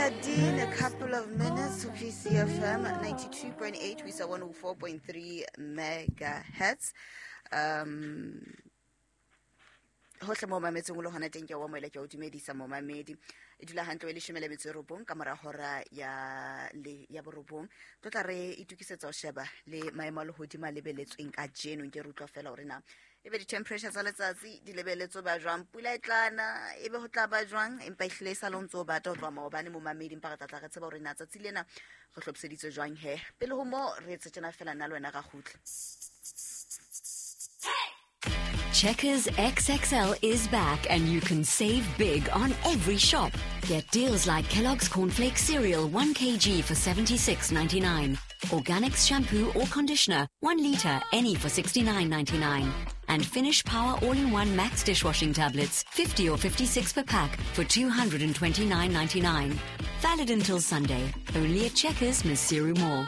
13 a couple of minutes to PCFM 92.8 we saw 104.3 megahertz. Hohle mo mametseng o le hona teng, ke wa moela, ke o dumedisa momamedi. E dula hantle e 19 ka mora hora ya le ya 9. Tlo tla re itukisetsa ho sheba le maemo a lehodimo a lebeletsweng ka jeno. Nke re utlwa fela hore na ebe di-temperature tsa letsatsi di lebeletswe ba jwang, pula e tlana ebe ho tla ba jwang, empa ehlile e sa le o ntse o bata ho tloha maobane momamedi. Empa re tla tla re tseba hore na tsatsi lena re hlophiseditswe jwang. He pele ho mo re etse tjena fela, nna le wena ra kgutla. Checkers XXL is back and you can save big on every shop. Get deals like Kellogg's Cornflakes cereal 1 kg for 76.99, Organics shampoo or conditioner 1 liter any for 69.99, and Finish Power All-in-One Max dishwashing tablets 50 or 56 per pack for 229.99. Valid until Sunday. Only at Checkers, Maseru Mall.